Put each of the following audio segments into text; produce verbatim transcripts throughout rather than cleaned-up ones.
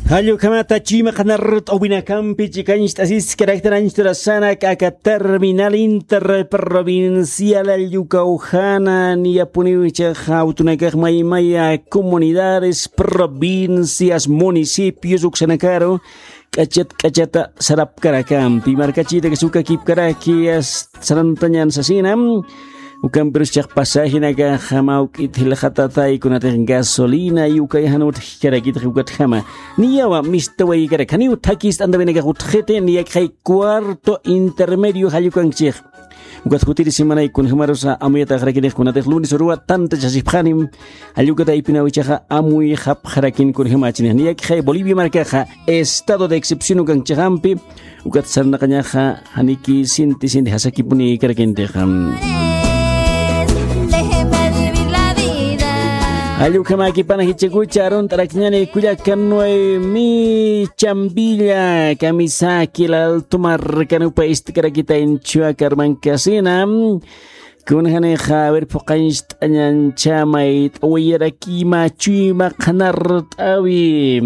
Jallukhamata chuyma qhanart'awinakampi chikañcht'asiskaraktaranchturasana k'aka terminal interprovincial allukawjana niyapuniw ichaxa awtunakax maymaya comunidades, provincias, municipios uksanakaru k'achat k'achata sarapkarakampi markachita kasukakipkaraki sarantañan sasina. Ukampirus chaq pasajinakaxa mawk'it jilxatatay kunatix gasolina y ukay jan utjkarakitix ukatjama. Niyawa mistawaykarak janiw thakist'antawinakax utjxiti niyakxay cuarto intermedio jallukankchix. Ukat jutiri simanay kunjamarusa amuyataxarakinix kunatix lunes uruwa tantachasipxanim. Jallukataypinaw ichaxa amuyxapxarakin kunjamachinix niyakxay bolivia markaxa estado de excepción ukankchixampi. Ukat sarnaqañaxa janiki sinti sinti jasakipuni karakintixam. Allukhamakipana jichakucha arunt'arakñani kullakanwaymi chambilla kamisaki laltumar kanupa istkarakita inchua karmankasina. Kunjanixa a ver phuqañcht'añanchamay t'awayarakima chuyma qhanart'awi.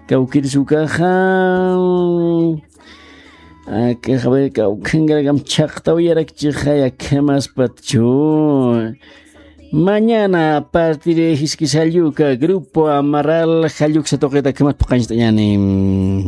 Kawkirisukaxa akaxa ver kawkhankarakam chhaqtawayarakchixa yakhamaspatchu. Mañana partir jiskis jalluka grupo amaral jalluksa tuqita akhamat phuqañcht'añani.